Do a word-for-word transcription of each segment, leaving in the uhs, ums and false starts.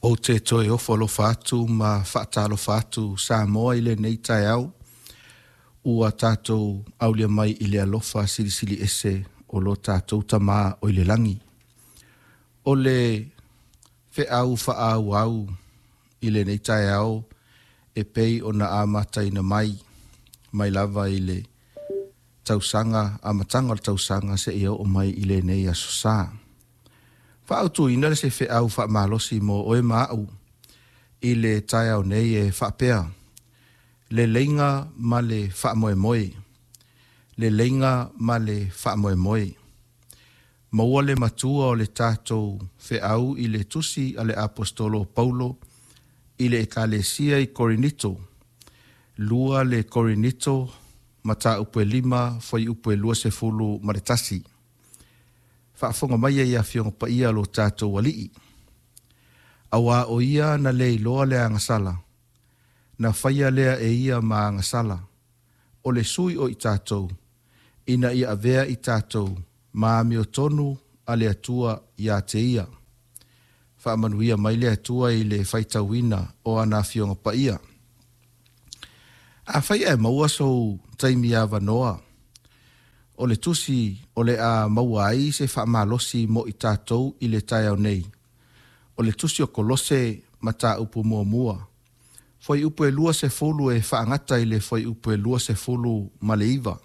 Ou te toe ofo alofa atu ma faatalofa atu Samoa i lenei taeao ua tatou aulia mai i le alofa silisili ese o lo tatou Tamā o i le lagi. O le feau faaauau i lenei taeao e pei ona amataina mai mai lava i le tausaga, amataga o le tausaga seia oo mai i lenei aso sa. Faaautuina le se feau faamalosi mo oe ma au i le taeao nei e faapea, leleiga ma le faamoemoe, leleiga ma le faamoemoe. Maua le matua o le tatou feau i le tusi a le Aposetolo o Paulo i le Ekalesia i Korinito, lua le Korinito, mataupu e lima, fuaiupu e luasefulu ma le tasi. Faafofoga mai e Afioga Paia lo tatou Alii. Auā o ia na le iloa le agasala, na faia lea e ia ma agasala, o le sui o i tatou, ina ia avea i tatou ma amiotonu a le Atua ia te ia. Faamanuia mai le Atua i le faitauina o ana Afioga Paia. Afai ae maua sou taimi avanoa, o le tusi o le a maua ai se faamalosi mo i tatou i le taeao nei, o le tusi o Kolose mataupu muamua, fuaiupu e luasefulu e faagata i le fuaiupu e luasefulu ma le iva,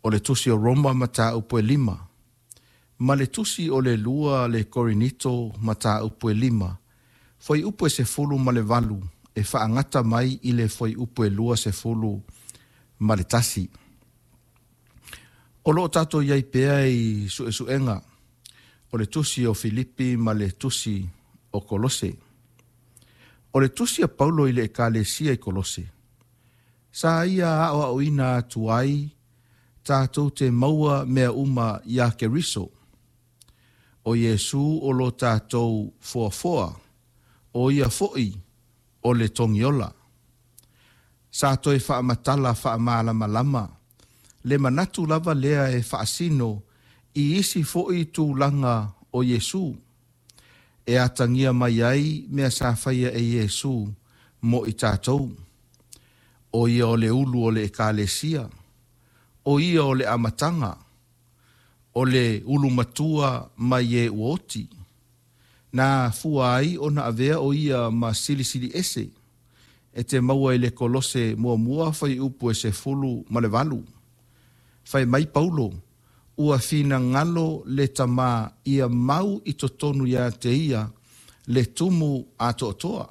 o le tusi o Roma mataupu e lima, ma le tusi o le lua le Korinito mataupu e lima, fuaiupu e sefulu ma le valu e faagata mai i le fuaiupu e luasefulu ma le tasi. O loo tatou i ai pea i suesuega o le tusi o Filipi ma le tusi o Kolose. O le tusi a Paulo i le Ekalesia i Kolose, sa ia aoaoina atu ai tatou te maua mea uma iā Keriso. O Iesu o lo tatou foafoa, o ia foi o le togiola. Sa toe faamatala faamalamalama le manatu lava lea e faasino i isi foi tulaga o Iesu, e atagia mai ai mea sa faia e Iesu mo i tatou. O ia o le ulu o le Ekalesia, o ia o le amataga, o le ulu matua mai e ua oti. Na fua ai ona avea o ia ma silisili ese, e te maua i le Kolose muamua fuaiupu e sefulu ma le valu. Fai mai Paulo, ua finagalo le Tamā ia mau i totonu ia te ia le tumu atoatoa.